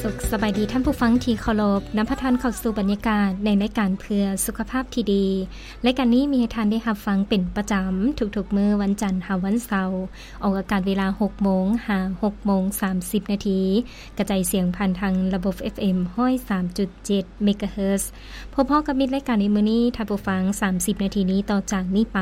ສຸກສະບາຍດີທ່ານຜູ້ຟັງທີ່ເຄົາລົບ, ນຳພາທ່ານເຂົ້າສູ່ບັນຍາກາດໃນລາຍການເພື່ອສຸຂະພາບທີ່ດີ. ລາຍການນີ້ມີໃຫ້ທ່ານໄດ້ຮັບຟັງເປັນປະຈຳທຸກໆມື້ວັນຈັນຫາວັນເສົາ, ອອກອາກາດເວລາຫົກໂມງຫາຫົກໂມງສາມສິບນາທີ, ກະຈາຍສຽງຜ່ານທາງລະບົບ ເອັຟເອັມ ຮ້ອຍສາມຈຸດເຈັດເມກາເຮີດ. ພົບພໍ້ກັບມິດລາຍການໃນມື້ນີ້, ທ່ານຜູ້ຟັງ, ສາມສິບນາທີນີ້ຕໍ່ຈາກນີ້ໄປ,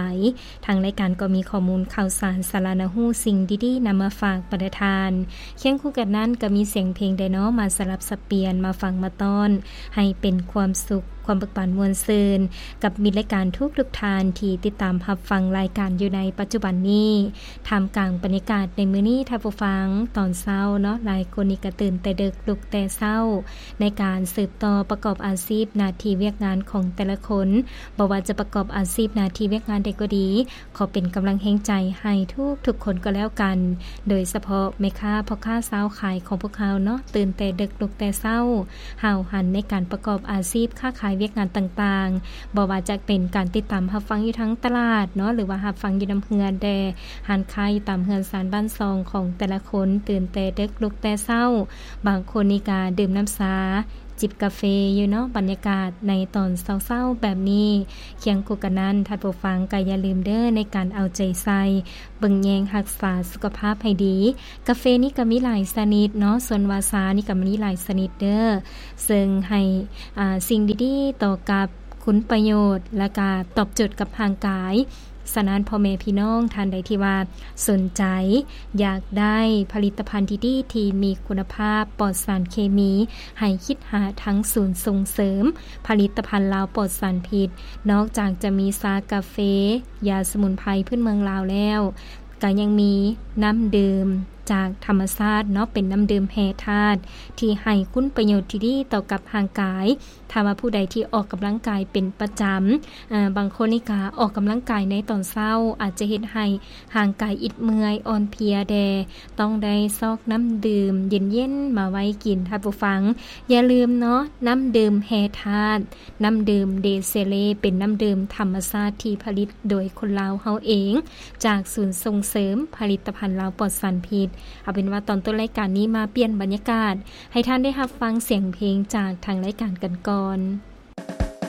ທາງລາຍການກໍມີຂໍ້ມູນຂ່າວສານ, ສາລະໜ້າຮູ້, ສິ່ງດີໆນຳມາຝາກບັນດາທ່ານ. ຄຽງຄູ່ກັນນັ້ນກໍມີສຽງເພງແດ່ເນາະ ມາສະຫຼັບສັບປ່ຽນ, ມາຟັງມາຕ້ອນ, ໃຫ້ເປັນຄວາມສຸກ, ຄວາມເບີກບານມ່ວນຊື່ນ ກັບມິດລາຍການທຸກໆທ່ານທີ່ຕິດຕາມຮັບຟັງລາຍການຢູ່ໃນປັດຈຸບັນນີ້. ທ່າມກາງບັນຍາກາດໃນມື້ນີ້, ທ່ານຜູ້ຟັງ, ຕອນເຊົ້າເນາະ, ຫຼາຍຄົນນີ້ກໍຕື່ນແຕ່ເດິກ, ລຸກແຕ່ເຊົ້າ ໃນການສືບຕໍ່ປະກອບອາຊີບ, ໜ້າທີ່, ວຽກງານຂອງແຕ່ລະຄົນ. ບໍ່ວ່າຈະປະກອບອາຊີບ, ໜ້າທີ່, ວຽກງານໃດກໍດີ, ຂໍເປັນກຳລັງແຮງໃຈໃຫ້ທຸກໆຄົນກໍແລ້ວກັນ, ໂດຍສະເພາະແມ່ຄ້າ, ພໍ່ຄ້າ, ຊາວຂາຍຂອງພວກເຮົາເນາະ, ຕື່ນແຕ່ເດິກ, ລຸກແຕ່ເຊົ້າ, ຫ້າວຫັນໃນການປະກອບອາຊີບ, ຄ້າຂາຍ, ວຽກງານຕ່າງໆ, ບໍ່ວ່າຈະເປັນການຕິດຕາມຮັບຟັງຢູ່ທາງຕະຫຼາດເນາະ, ຫຼືວ່າຮັບຟັງຢູ່ນຳເຮືອນແດ່, ຮ້ານຄ້າຢູ່ຕາມເຮືອນຊານບ້ານຊ່ອງຂອງແຕ່ລະຄົນ, ຕື່ນແຕ່ເດິກ, ລຸກແຕ່ເຊົ້າ, ບາງຄົນນີ້ກະດື່ມນ້ຳຊາ, ຈິບກາເຟຢູ່ເນາະ. ບັນຍາກາດໃນຕອນເຊົ້າໆແບບນີ້, ຄຽງຄູ່ກັນນັ້ນ, ທ່ານຜູ້ຟັງກໍຢ່າລືມເດີ້ ໃນການເອົາໃຈໃສ່ ເບິ່ງແຍງຮັກສາສຸຂະພາບໃຫ້ດີ. ກາເຟນີ້ກໍມີຫຼາຍຊະນິດເນາະ, ສ່ວນວ່າຊານີ້ກໍມີຫຼາຍຊະນິດເດີ້, ເຊິ່ງໃຫ້ ອາ ສິ່ງດີໆຕໍ່ກັບຄຸນປະໂຫຍດ ແລະກະຕອບໂຈດກັບຮ່າງກາຍ. ສະນັ້ນ ພໍ່ແມ່ພີ່ນ້ອງທ່ານໃດທີ່ວ່າສົນໃຈຢາກໄດ້ຜະລິດຕະພັນດີໆ ທີ່ມີຄຸນນະພາບ ປອດສານເຄມີ, ໃຫ້ຄິດຫາທາງສູນສົ່ງເສີມຜະລິດຕະພັນລາວປອດສານພິດ. ນອກຈາກຈະມີຊາກາເຟ, ຢາສະໝຸນໄພພື້ນເມືອງລາວແລ້ວ, ກໍຍັງມີນ້ຳດື່ມຈາກທຳມະຊາດເນາະ, ເປັນນ້ຳດື່ມແຮ່ທາດ ທີ່ໃຫ້ຄຸນປະໂຫຍດທີ່ດີຕໍ່ກັບຮ່າງກາຍ. ຖ້າວ່າຜູ້ໃດທີ່ອອກກຳລັງກາຍເປັນປະຈຳ, ເອີ ບາງຄົນນີ້ກະອອກກຳລັງກາຍໃນຕອນເຊົ້າ ອາດຈະເຮັດໃຫ້ຮ່າງກາຍອິດເມື່ອຍອ່ອນເພຍແດ່, ຕ້ອງໄດ້ຊອກນ້ຳດື່ມເຢັນໆມາໄວ້ກິນ. ທ່ານຜູ້ຟັງ, ຢ່າລືມເນາະ, ນ້ຳດື່ມແຮ່ທາດ, ນ້ຳດື່ມເດເຊເລ ເປັນນ້ຳດື່ມທຳມະຊາດທີ່ຜະລິດໂດຍຄົນລາວເຮົາເອງ, ຈາກສູນສົ່ງເສີມຜະລິດຕະພັນລາວປອດສານພິດ. ເອົາເປັນວ່າຕອນຕົ້ນລາຍການນີ້ມາປ່ຽນບັນຍາກາດ ໃຫ້ທ່ານໄດ້ຮັບຟັງສຽງເພງຈາກທາງລາຍການກັນກ່ອນ.